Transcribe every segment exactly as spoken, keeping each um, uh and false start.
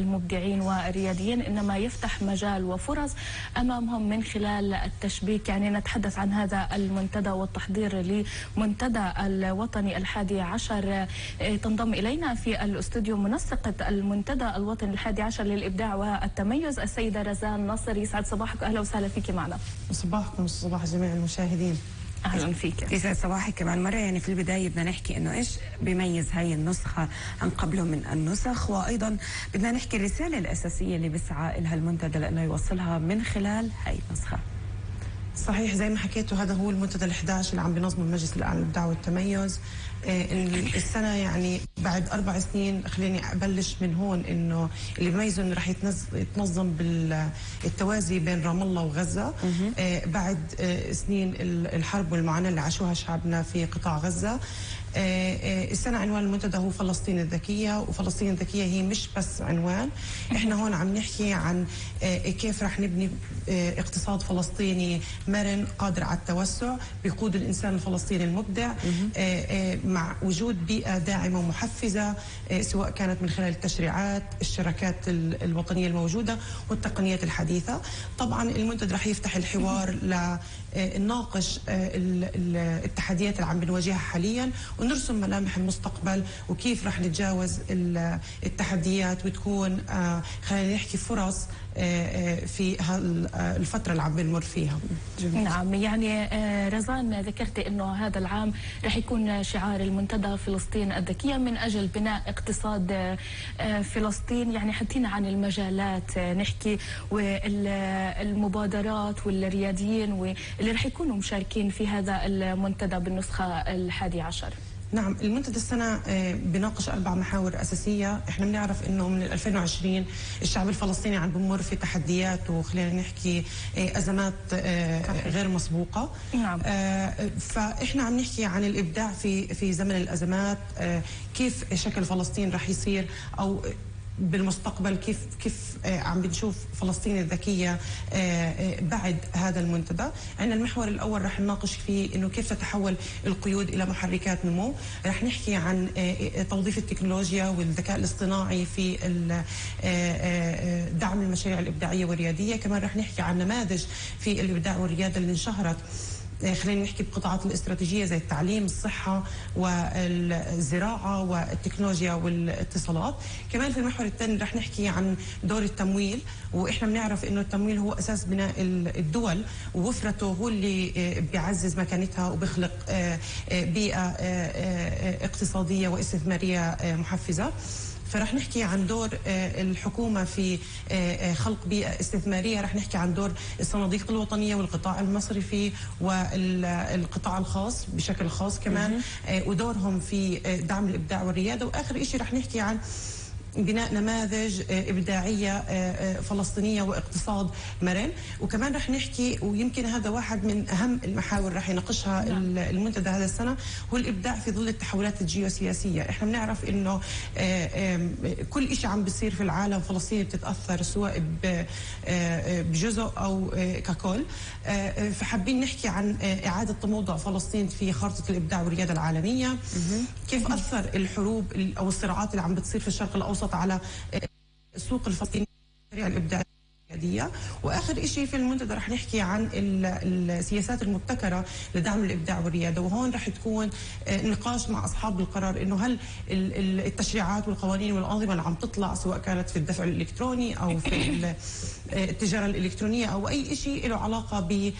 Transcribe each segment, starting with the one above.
المبدعين والرياديين، إنما يفتح مجال وفرص أمامهم من خلال التشبيك. يعني نتحدث عن هذا المنتدى والتحضير لمنتدى الوطني الحادي عشر. تنضم إلينا في الاستوديو منسقة المنتدى الوطني الحادي عشر للإبداع والتميز السيدة رزان ناصر. يسعد صباحك، أهلا وسهلا فيك معنا. صباحكم صباح جميع المشاهدين. اهلا فيك. يسعد صباحك كمان مره. يعني في البدايه بدنا نحكي انه ايش بيميز هاي النسخه عن قبله من النسخ، وايضا بدنا نحكي الرساله الاساسيه اللي بيسعى لها المنتدى لانه يوصلها من خلال هاي النسخه. صحيح زي ما حكيتوا، هذا هو المنتدى الأحد عشر اللي عم بينظمه المجلس الأعلى للإبداع والتميز. السنة يعني بعد أربع سنين، خليني أبلش من هون، إنه اللي بيميزه إنه رح يتنظم بالتوازي بين رام الله وغزة بعد سنين الحرب والمعاناة اللي عاشوها شعبنا في قطاع غزة. السنة عنوان المنتدى هو فلسطين الذكية، وفلسطين الذكية هي مش بس عنوان، احنا هون عم نحكي عن كيف رح نبني اقتصاد فلسطيني مرن قادر على التوسع بيقود الإنسان الفلسطيني المبدع مع وجود بيئة داعمة ومحفزة، سواء كانت من خلال التشريعات، الشراكات الوطنية الموجودة والتقنيات الحديثة. طبعا المنتدى رح يفتح الحوار لنناقش التحديات اللي عم بنواجهها حاليا ونرسم ملامح المستقبل وكيف رح نتجاوز التحديات وتكون خلينا نحكي فرص في الفترة اللي عم بنمر فيها. جميل. نعم، يعني رزان ذكرت انه هذا العام رح يكون شعار المنتدى فلسطين الذكية من اجل بناء اقتصاد فلسطين. يعني حدينا عن المجالات نحكي والمبادرات والرياديين واللي رح يكونوا مشاركين في هذا المنتدى بالنسخة الحادي عشر. نعم، المنتدى السنة بناقش أربع محاور أساسية. إحنا بنعرف إنه من ألفين وعشرين الشعب الفلسطيني عم بمر في تحديات وخلينا نحكي أزمات غير مسبوقة. نعم. فإحنا عم نحكي عن الإبداع في في زمن الأزمات، كيف شكل فلسطين رح يصير أو بالمستقبل، كيف كيف عم بنشوف فلسطين الذكية بعد هذا المنتدى. عندنا المحور الأول رح نناقش فيه إنه كيف تتحول القيود إلى محركات نمو. رح نحكي عن توظيف التكنولوجيا والذكاء الاصطناعي في دعم المشاريع الإبداعية والريادية. كمان رح نحكي عن نماذج في الإبداع والريادة اللي انشهرت، خلينا نحكي بقطاعات الاستراتيجية زي التعليم، الصحة والزراعة والتكنولوجيا والاتصالات. كمان في المحور الثاني رح نحكي عن دور التمويل، وإحنا بنعرف إنه التمويل هو أساس بناء الدول، ووفرته هو اللي بيعزز مكانتها وبيخلق بيئة اقتصادية واستثمارية محفزة. فرح نحكي عن دور الحكومة في خلق بيئة استثمارية، رح نحكي عن دور الصناديق الوطنية والقطاع المصرفي والقطاع الخاص بشكل خاص كمان، ودورهم في دعم الإبداع والريادة. وآخر شيء رح نحكي عن بناء نماذج إبداعية فلسطينية واقتصاد مرن. وكمان رح نحكي، ويمكن هذا واحد من أهم المحاور رح يناقشها المنتدى هذا السنة، هو الإبداع في ظل التحولات الجيوسياسية. إحنا بنعرف إنه كل شيء عم بيصير في العالم فلسطين بتتأثر سواء بجزء أو ككل. فحابين نحكي عن إعادة تموضع فلسطين في خارطة الإبداع والريادة العالمية، كيف أثر الحروب أو الصراعات اللي عم بتصير في الشرق الأوسط على السوق الفلسطيني الإبداعية. واخر شيء في المنتدى رح نحكي عن السياسات المبتكره لدعم الابداع والرياده، وهون رح تكون نقاش مع اصحاب القرار انه هل التشريعات والقوانين والانظمه اللي عم تطلع سواء كانت في الدفع الالكتروني او في التجاره الالكترونيه او اي شيء له علاقه ب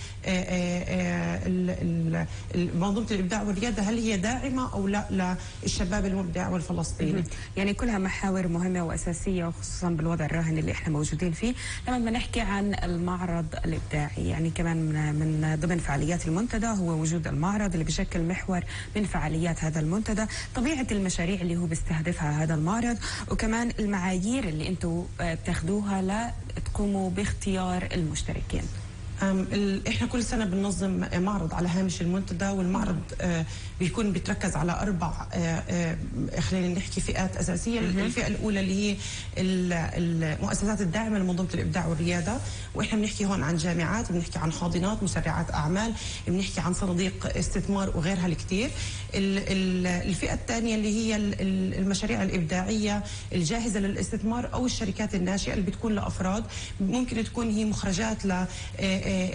منظومه الابداع والرياده، هل هي داعمه او لا للشباب المبدع والفلسطيني. يعني كلها محاور مهمه واساسيه، وخصوصا بالوضع الراهن اللي احنا موجودين فيه. لما بدنا نحكي عن المعرض الابداعي، يعني كمان من ضمن فعاليات المنتدى هو وجود المعرض اللي بشكل محور من فعاليات هذا المنتدى، طبيعه المشاريع اللي هو بيستهدفها هذا المعرض، وكمان المعايير اللي انتم بتاخذوها لتقوموا باختيار المشتركين. احنا كل سنه بننظم معرض على هامش المنتدى، والمعرض آه بيكون بيتركز على اربع آه خلينا نحكي فئات اساسيه. الفئه الاولى اللي هي المؤسسات الداعمه لمنظومه الابداع والرياده، واحنا بنحكي هون عن جامعات، بنحكي عن حاضنات، مسرعات اعمال، بنحكي عن صناديق استثمار وغيرها الكثير. الفئه الثانيه اللي هي المشاريع الابداعيه الجاهزه للاستثمار او الشركات الناشئه اللي بتكون لافراد، ممكن تكون هي مخرجات ل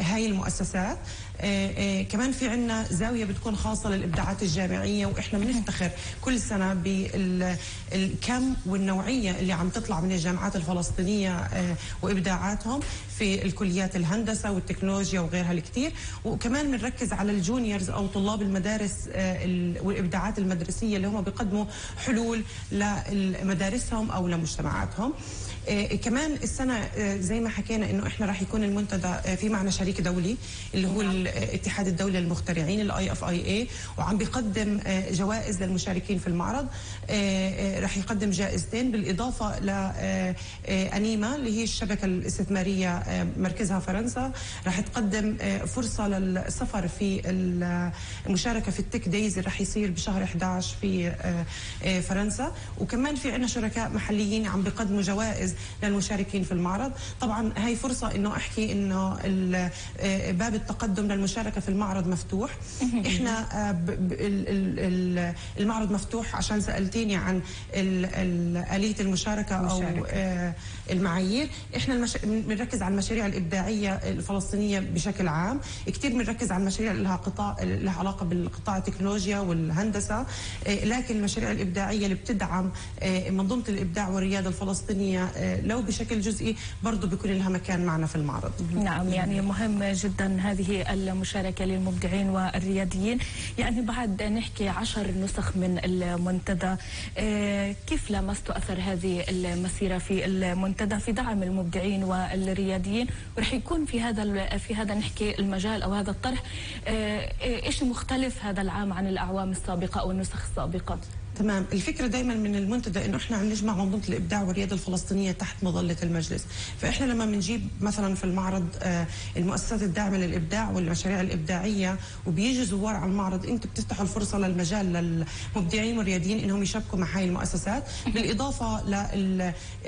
هاي المؤسسات. آه آه كمان في عنا زاوية بتكون خاصة للإبداعات الجامعية، وإحنا بنفتخر كل سنة بالكم والنوعية اللي عم تطلع من الجامعات الفلسطينية آه وإبداعاتهم في الكليات الهندسة والتكنولوجيا وغيرها الكثير. وكمان بنركز على الجونيورز أو طلاب المدارس آه والإبداعات المدرسية اللي هم بيقدموا حلول لمدارسهم أو لمجتمعاتهم. آه كمان السنة آه زي ما حكينا إنه إحنا راح يكون المنتدى آه في معنا شريك دولي اللي هو الاتحاد الدولي للمخترعين الاي اف اي اي، وعم بيقدم آه جوائز للمشاركين في المعرض. آه آه راح يقدم جائزتين بالاضافه لانيما اللي هي الشبكه الاستثماريه آه مركزها فرنسا، راح تقدم آه فرصه للسفر في المشاركه في التك دايز اللي راح يصير بشهر أحد عشر في آه آه فرنسا. وكمان في عندنا شركاء محليين عم بيقدموا جوائز للمشاركين في المعرض. طبعا هاي فرصه انه احكي انه باب التقدم للمشاركه في المعرض مفتوح. احنا المعرض مفتوح عشان سالتيني عن آلية المشاركه او المعايير. احنا بنركز على المشاريع الابداعيه الفلسطينيه بشكل عام، كثير بنركز على المشاريع اللي لها قطاع لها علاقه بالقطاع التكنولوجيا والهندسه، لكن المشاريع الابداعيه اللي بتدعم منظومه الابداع والرياده الفلسطينيه لو بشكل جزئي برضه بيكون لها مكان معنا في المعرض. نعم، يعني مهم جدا هذه المشاركة للمبدعين والرياديين. يعني بعد نحكي عشر نسخ من المنتدى، كيف لمست أثر هذه المسيرة في المنتدى في دعم المبدعين والرياديين؟ ورح يكون في هذا في هذا نحكي المجال أو هذا الطرح، إيش مختلف هذا العام عن الأعوام السابقة أو النسخ السابقة؟ تمام. الفكره دائما من المنتدى انه احنا عم نجمع منظومه الابداع والرياده الفلسطينيه تحت مظله المجلس. فاحنا لما بنجيب مثلا في المعرض المؤسسات الداعمه للابداع والمشاريع الابداعيه وبيجي زوار على المعرض، انتم بتفتحوا الفرصه للمجال للمبدعين والرياديين انهم يشاركوا مع هاي المؤسسات، بالاضافه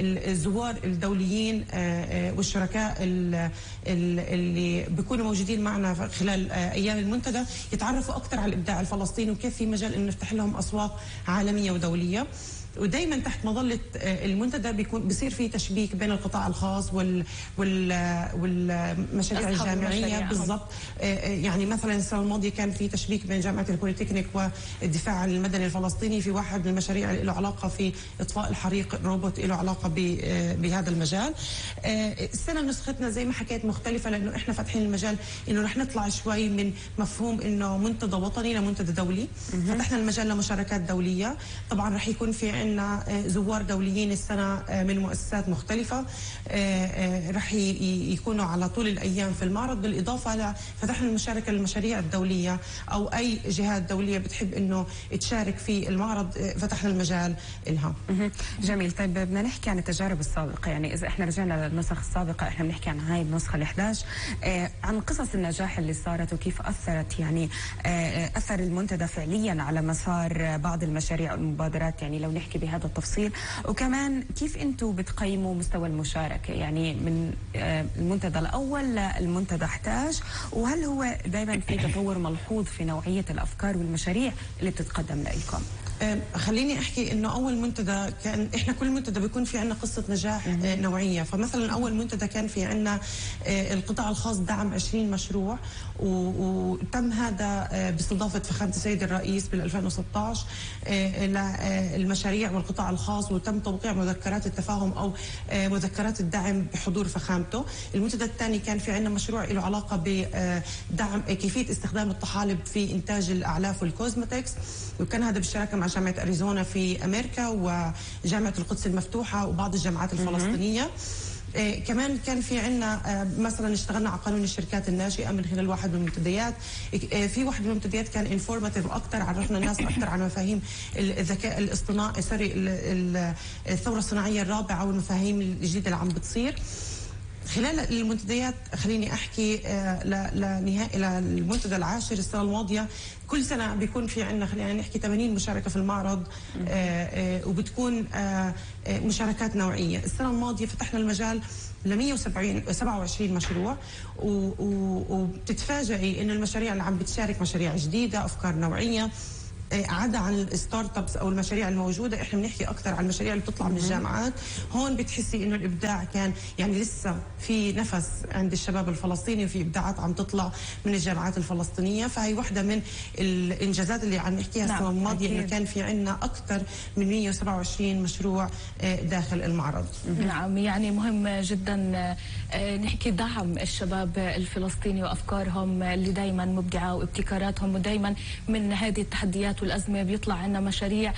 للزوار الدوليين والشركاء اللي بيكونوا موجودين معنا خلال ايام المنتدى يتعرفوا اكثر على الابداع الفلسطيني وكيف في مجال انه نفتح لهم اسواق عالمية ودولية. ودائما تحت مظله المنتدى بيكون بصير في تشبيك بين القطاع الخاص وال وال والمشاريع الجامعيه بالضبط. يعني مثلا السنه الماضيه كان في تشبيك بين جامعه البوليتكنيك والدفاع المدني الفلسطيني في واحد من المشاريع اللي له علاقه في اطفاء الحريق، الروبوت له علاقه بهذا المجال. السنه نسختنا زي ما حكيت مختلفه لانه احنا فاتحين المجال انه رح نطلع شوي من مفهوم انه منتدى وطني لمنتدى دولي. فتحنا المجال لمشاركات دوليه. طبعا رح يكون في عندنا زوار دوليين السنة من مؤسسات مختلفة رح يكونوا على طول الأيام في المعرض، بالإضافة لفتحنا المشاركة للمشاريع الدولية أو أي جهات دولية بتحب أنه تشارك في المعرض فتحنا المجال لها. جميل. طيب بدنا نحكي عن التجارب السابقة، يعني إذا إحنا رجعنا للنسخ السابقة إحنا بنحكي عن هاي النسخة الأحد عشر، عن قصص النجاح اللي صارت وكيف أثرت يعني أثر المنتدى فعليا على مسار بعض المشاريع والمبادرات، يعني لو نحكي بهذا التفصيل. وكمان كيف انتم بتقيموا مستوى المشاركه يعني من المنتدى الاول للمنتدى أحد عشر، وهل هو دائما في تطور ملحوظ في نوعيه الافكار والمشاريع اللي بتتقدم لكم؟ خليني احكي انه اول منتدى كان احنا كل منتدى بيكون في عندنا قصه نجاح نوعيه. فمثلا اول منتدى كان في عندنا القطاع الخاص دعم عشرين مشروع، وتم هذا باستضافه فخامه السيد الرئيس بال ألفين وستة عشر للمشاريع والقطاع الخاص، وتم توقيع مذكرات التفاهم او مذكرات الدعم بحضور فخامته. المنتدى الثاني كان في عندنا مشروع له علاقه بدعم كيفيه استخدام الطحالب في انتاج الاعلاف والكوزمتكس، وكان هذا بالشراكه مع جامعة أريزونا في أمريكا وجامعة القدس المفتوحة وبعض الجامعات الفلسطينية. إيه كمان كان في عندنا آه مثلا اشتغلنا على قانون الشركات الناشئه من خلال واحد من المنتديات. إيه في واحد من المنتديات كان انفورماتيف اكثر، عرفنا الناس اكثر عن مفاهيم الذكاء الاصطناعي سوري الثوره الصناعيه الرابعه والمفاهيم الجديده اللي عم بتصير. خلال المنتديات خليني احكي لنهائي للمنتدى العاشر السنه الماضيه، كل سنه بيكون في عندنا خلينا نحكي ثمانين مشاركه في المعرض، وبتكون مشاركات نوعيه. السنه الماضيه فتحنا المجال ل مئة وسبعة وعشرين مشروع، وبتتفاجئي انه المشاريع اللي عم بتشارك مشاريع جديده، افكار نوعيه، عدا عن الستارت ابس او المشاريع الموجوده. احنا بنحكي اكثر عن المشاريع اللي بتطلع من الجامعات. هون بتحسي انه الابداع كان يعني لسه في نفس عند الشباب الفلسطيني، وفي ابداعات عم تطلع من الجامعات الفلسطينيه. فهي وحده من الانجازات اللي عم نحكيها السنه نعم الماضيه، انه كان في عندنا اكثر من مئة وسبعة وعشرين مشروع داخل المعرض. نعم، يعني مهم جدا نحكي دعم الشباب الفلسطيني وافكارهم اللي دائما مبدعه وابتكاراتهم، ودائما من هذه التحديات والأزمة بيطلع عنا مشاريع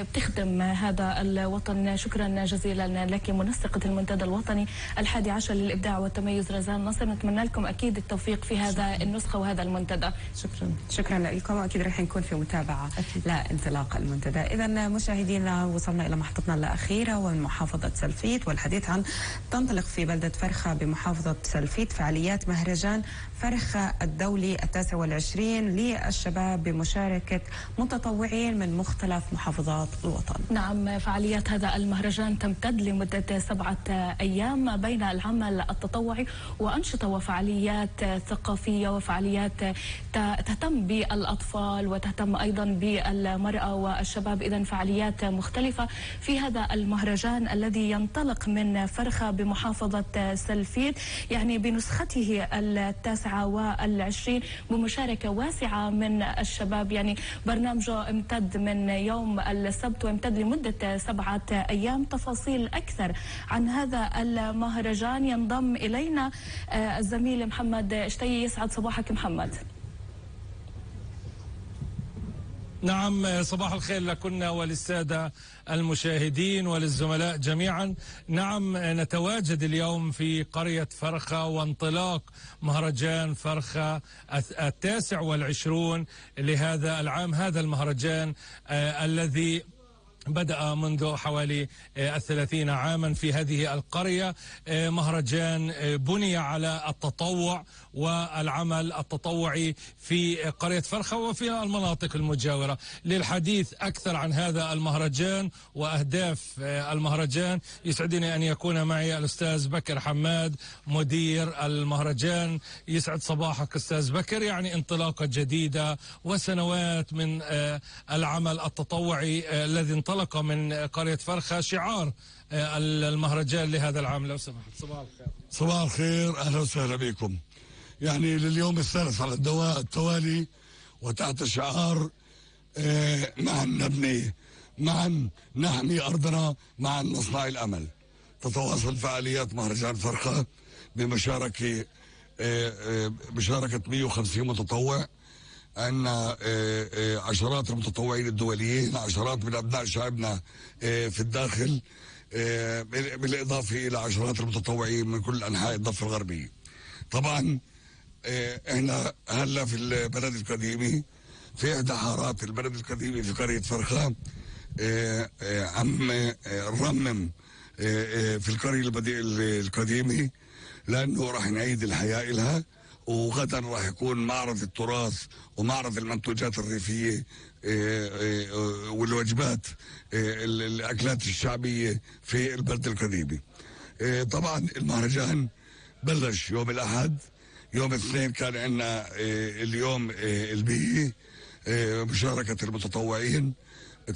بتخدم هذا الوطن. شكرا جزيلا لك منسقة المنتدى الوطني الحادي عشر للإبداع والتميز رزان نصر. نتمنى لكم أكيد التوفيق في هذا النسخة وهذا المنتدى. شكرا شكرا لكم، وأكيد رح نكون في متابعة لانطلاق المنتدى. إذا مشاهدينا وصلنا إلى محطتنا الأخيرة ومن محافظة سلفيت، والحديث عن تنطلق في بلدة فرخة بمحافظة سلفيت فعاليات مهرجان فرخة الدولي التاسع والعشرين للشباب بمشاركة متطوعين من مختلف محافظات الوطن. نعم، فعاليات هذا المهرجان تمتد لمدة سبعة أيام بين العمل التطوعي وأنشطة وفعاليات ثقافية وفعاليات تهتم بالأطفال وتهتم أيضا بالمرأة والشباب. إذن فعاليات مختلفة في هذا المهرجان الذي ينطلق من فرخة بمحافظة سلفيت، يعني بنسخته التاسعة والعشرين بمشاركة واسعة من الشباب. يعني برنامجه امتد من يوم السبت وامتد لمدة سبعة أيام. تفاصيل أكثر عن هذا المهرجان ينضم إلينا الزميل محمد اشتي. يسعد صباحك محمد. نعم، صباح الخير لكنا وللسادة المشاهدين وللزملاء جميعا. نعم، نتواجد اليوم في قرية فرخة وانطلاق مهرجان فرخة التاسع والعشرون لهذا العام. هذا المهرجان آه الذي بدأ منذ حوالي الثلاثين عاما في هذه القرية. مهرجان بني على التطوع والعمل التطوعي في قرية فرخة وفي المناطق المجاورة. للحديث أكثر عن هذا المهرجان وأهداف المهرجان يسعدني أن يكون معي الأستاذ بكر حماد مدير المهرجان. يسعد صباحك أستاذ بكر. يعني انطلاقة جديدة وسنوات من العمل التطوعي الذي انطلق من قرية فرخة، شعار المهرجان لهذا العام. لو سمحت. صباح الخير. صباح الخير، أهلا وسهلا بكم. يعني لليوم الثالث على الدواء التوالي وتحت شعار معا نبني، معا نحمي أرضنا، معا نصنع الأمل. تتواصل فعاليات مهرجان فرخة بمشاركة مشاركة مئة وخمسين متطوع. عندنا عشرات المتطوعين الدوليين، عشرات من أبناء شعبنا في الداخل، بالإضافة إلى عشرات المتطوعين من كل أنحاء الضفة الغربية. طبعا احنا هلا في البلد القديمي، في إحدى حارات البلد القديمي في قرية فرخة، عم نرمم في القرية القديمة لأنه راح نعيد الحياة لها. وغدا راح يكون معرض التراث ومعرض المنتوجات الريفية والوجبات الأكلات الشعبية في البلد القديمة. طبعا المهرجان بلش يوم الأحد. يوم الاثنين كان عندنا اليوم البيئي، مشاركة المتطوعين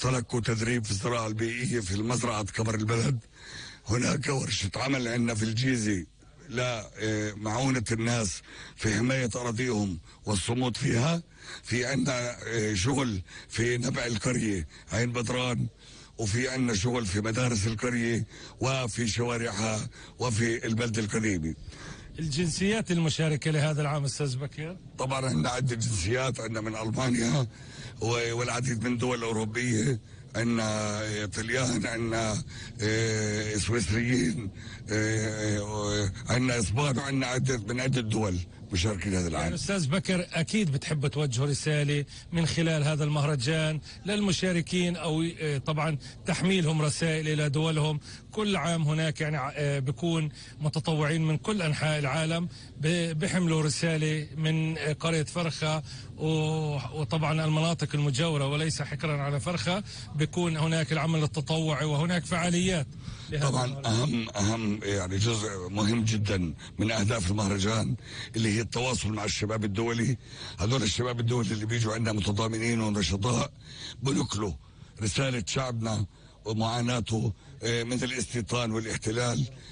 تلقوا تدريب في الزراعة البيئية في المزرعة كبر البلد. هناك ورشة عمل عندنا في الجيزة لمعونة الناس في حماية أراضيهم والصمود فيها. في عندنا شغل في نبع القرية عين بدران، وفي عندنا شغل في مدارس القرية وفي شوارعها وفي البلد القديمة. الجنسيات المشاركة لهذا العام أستاذ بكر؟ طبعا عندنا عدة جنسيات، عندنا من ألمانيا والعديد من دول أوروبية، عندنا طليان، عندنا سويسريين، عندنا اسبان، وعندنا عدة من عدة دول مشاركين هذا العام. يعني أستاذ بكر أكيد بتحب توجه رسالة من خلال هذا المهرجان للمشاركين، أو طبعا تحميلهم رسائل إلى دولهم. كل عام هناك يعني بيكون متطوعين من كل أنحاء العالم بيحملوا رسالة من قرية فرخة وطبعا المناطق المجاورة، وليس حكرا على فرخة. بيكون هناك العمل التطوعي وهناك فعاليات. طبعا أهم أهم يعني جزء مهم جدا من أهداف المهرجان اللي هي التواصل مع الشباب الدولي. هذول الشباب الدولي اللي بيجوا عندنا متضامنين ونشطاء بنقلوا رسالة شعبنا ومعاناته من الاستيطان والاحتلال